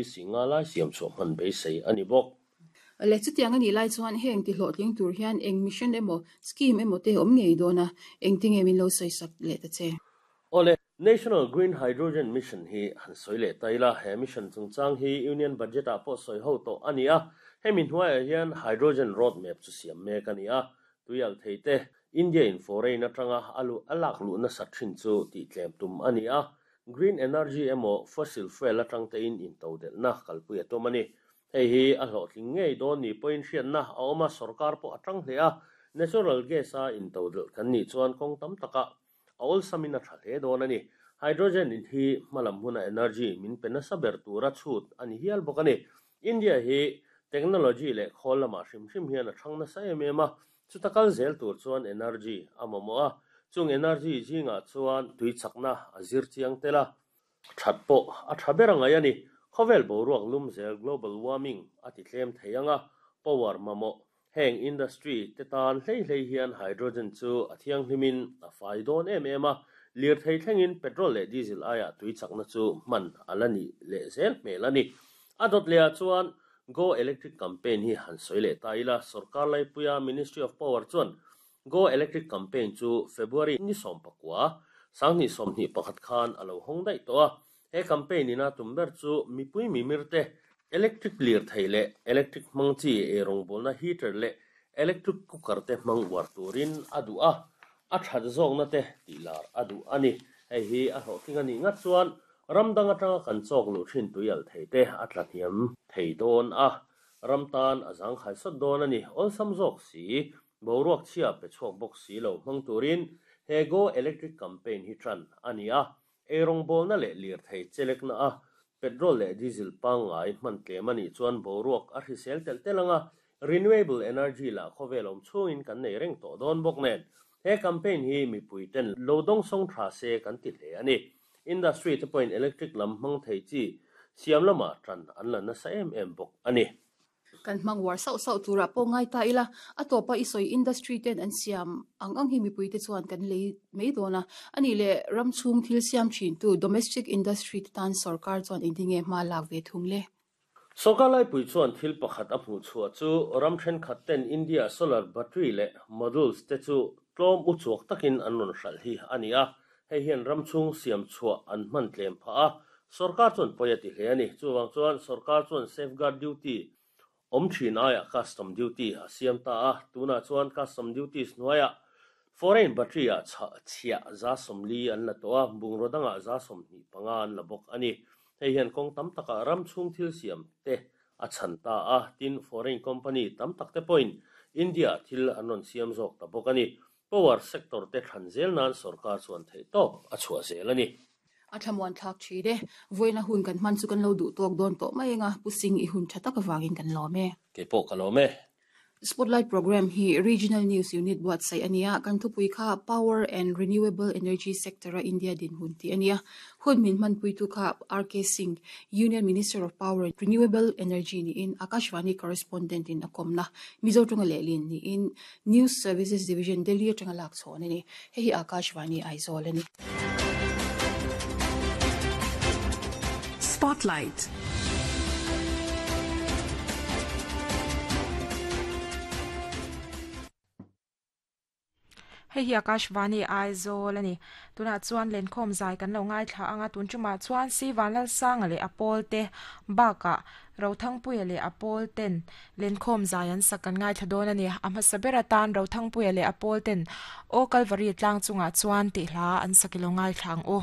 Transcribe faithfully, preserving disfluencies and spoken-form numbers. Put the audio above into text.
Singa lai siam chhuah hman beisei a ni bawk. Le chutiang ani lai chuan heng ti hlawhtling tur hian eng mission emaw scheme emaw te awm ngei dawn a, engtinge min lo sawi sak leh ta che. Awle, National Green Hydrogen Mission hi han sawi leh ta ila, he mission chungchang hi Union Budget ah pawh sawi ho tawh a ni a, hemi hnuaiah hian hydrogen roadmap chu siam mek a ni a, tuialh thei te India in foreign atanga a luh a lak luh nasat thin chu tih tlem tum a ni a, green energy emaw fossil fuel atang te in intodelhna kalpui a tum a ni. Hei hi a hlawhtling ngei dawn ni pawhin hriatna a awm a, sorkar pawh a tang hle a, natural gas a intodelh kan nih chuan kawng tam taka a awlsamin a tha hle dawn a ni. Hydrogen in hi hmalam huna energy min pe nasa ber tura chhut a ni hial bawk a ni. India hi technology leh khawl lamah hrim hrim hian a thang nasa em em a, chuta kal zel tur chuan energy a mamawh a, chung energy zingah chuan tui chakna a zir chiang tel a, that pawh a tha ber a ngai a ni. Khawvel boruak lum zel global warming a ti tlem thei anga, power mamawh heng industry te tan hlei hlei hian hydrogen chu a thianghlimin a fai dawn em em a, lirthei thlengin petrol leh diesel aiah tui chakna chu hman a la ni leh zel hmel a ni. A dawt lehah chuan Go Electric campaign hi han sawi leh ta ila, sorkar laipuia Ministry of Power chuan Go Electric campaign chu February ni sawm pakua, sanghnih sawmhnih pakhat khan a lo hawng daih tawh a. He campaign ina tum ber chu mipui mimir te electric lirthei leh electric hmang chi eirawngbawlna heater leh electric cooker te hmang uar turin a duh a, a that zawkna te tih lar a duh a ni. Hei hi a hlawhtling a nih ngat chuan ram dang atanga kan chawk luh thin tuialh thei te a tla hniam thei dawn a, ram tan a zangkhai sawt dawn a ni. Awlsam zawk si, boruak chhia pe chhuak bawk si lo hmang turin he Go Electric campaign hi tran a ni a, eirawngbawlna leh lirthei chelekna a petrol leh diesel pangngai hman tlem a nih chuan boruak a hrisel telh telh anga, renewable energy lah khawvel awm chhungin kan nei reng tawh dawn bawk nen. He campaign hi mipui ten lo dawng sawng tha se kan ti hle a ni. Industry te pawhin electric lam hmang thei chi siam lamah tran an la nasa em em bawk a ni. Kan hmang uar sauh sauh turah pawh ngai ta ila, a tawpa i sawi industry ten an siam ang ang hi mipui te chuan kan lei mai dawn a. Ani leh ram chhung thil siam thin tu domestic industry te tan sorkar chuan engtinge hma lak ve thung le? Sorkar laipui chuan thil pakhat a hmuh chhuah chu ram thenkhat ten India solar battery leh modules te chu tlawm uchuak takin an rawn hralh hi a ni a, hei hian ram chhung siam chhuah an hman tlem phah a, sorkar chuan pawi a ti hle a ni. Chuwang chuan sorkar chuan safeguard duty awm thin aiah custom duty a siam ta a, tunah chuan custom duties hnuaiah foreign battery ah chhiah za sawmli an la tawh a, bungraw dangah za sawmhnih panga an la bawk a ni. Hei hian kawng tam takah ram chhung thil siam te a chhan ta a, tin foreign company tam tak te pawhin India thil an rawn siam zawk ta bawk a ni. Power sector te thlan zel nan sorkar chuan theih tawp a chhuah zel a ni. A thlamuan thlak thin e, vawiina hun kan hman chu kan lo duh tawk dawn tawh mai anga, Pu Singh i hun tha tak avangin kan lawm e. Keipawh ka lawm e. Spotlight program hi Regional News Unit buatsaih a ni a, kan thupui kha Power and Renewable Energy Sector a India dinhmun tih a ni a. Hun min hmanpuitu kha R K Singh, Union Minister of Power and Renewable Energy niin Akashvani correspondent in a kawmna Mizo tawnga lehlin niin News Services Division Delhi atanga lak chhawn a ni. Hei hi Akashvani Aizawl a ni. Spotlight. Hei hi Akashvani Aizawl a ni. Tunah chuan lenkhawm zai kan lo ngaithla anga, tun tumah chuan si Vanlalsanga leh a pawl te bakah Rothangpuia leh a pawl ten lenkhawm zai an sak kan ngaithla dawn a ni. A hmasa ber atan Rothangpuia leh a pawl ten Aw Kalvari tlang chungah chuan tih hla an sak i lo ngaithla ang u.